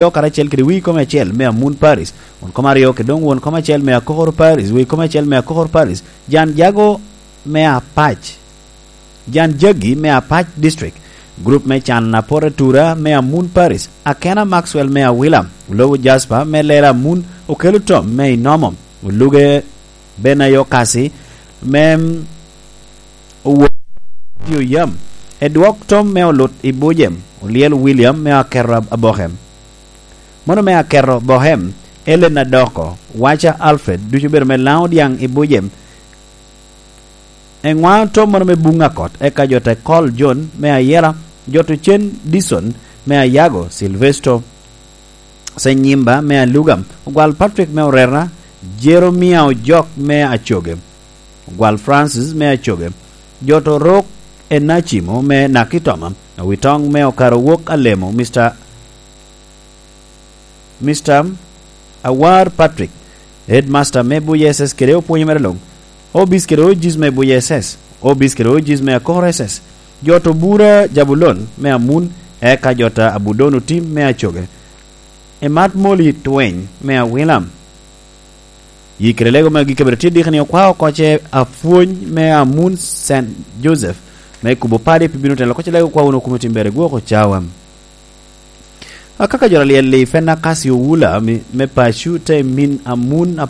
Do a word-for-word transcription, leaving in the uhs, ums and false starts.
aryo karacel kede wii kom acel me Amun Paris, won kom aryo kede doŋ won kom acel me Akokoro Paris, wii kom acel me Akokoro Paris, Jan Jago me Apac, Jan Jagi me Apac District, grup me Can Apor Atura me Amun Paris, Akena Maxwell me Awila, Olobo Jasper me Lela Amun, Okelo Tom me Inomo, Oluge Benayo Kasi me Owot i Oyam, Edwok Tom me Olut i Bujem, Olyel William me Akerro Abokem. Mono me Akerro Bohem, Ellen Adoko, Waca Alfred, ducu obedo me Laŋo Dyaŋ i Bujem. Eŋwa Tom mono me Buŋ Akot, eka jo te Kol John me Ayela, jo to Cen Dison me Ayago, Silvesto Senyimba me Alugam, Ogwal Patrick me Orerna, Jeremia Ojok me Acoge, Ogwal Francis me Acoge, jo to Rok Enacimo me Nakitoma, Awitoŋ me Okaro Wok Alemo, Mister Mister Awar Patrick, Headmaster me Buya S S kede opwonyo mere luŋ, Obis kede Ojis me Buya S S, Obis kede Ojis me Akor S S, jo to Bura Jabulon me Amun, eka jo ta Abudon Otim me Acoge, Emat Moli Tweny me Awilam. Yi kede lego magi kabedo tye diki ni okwa oko ce apwony me Amun Saint Joseph me kubo padi pi bino telo koc lego kwa wunu kumo tim bere gwoko cawa. Akaka jo alyel i Fenakasi Owula mi-, me paco te min Amun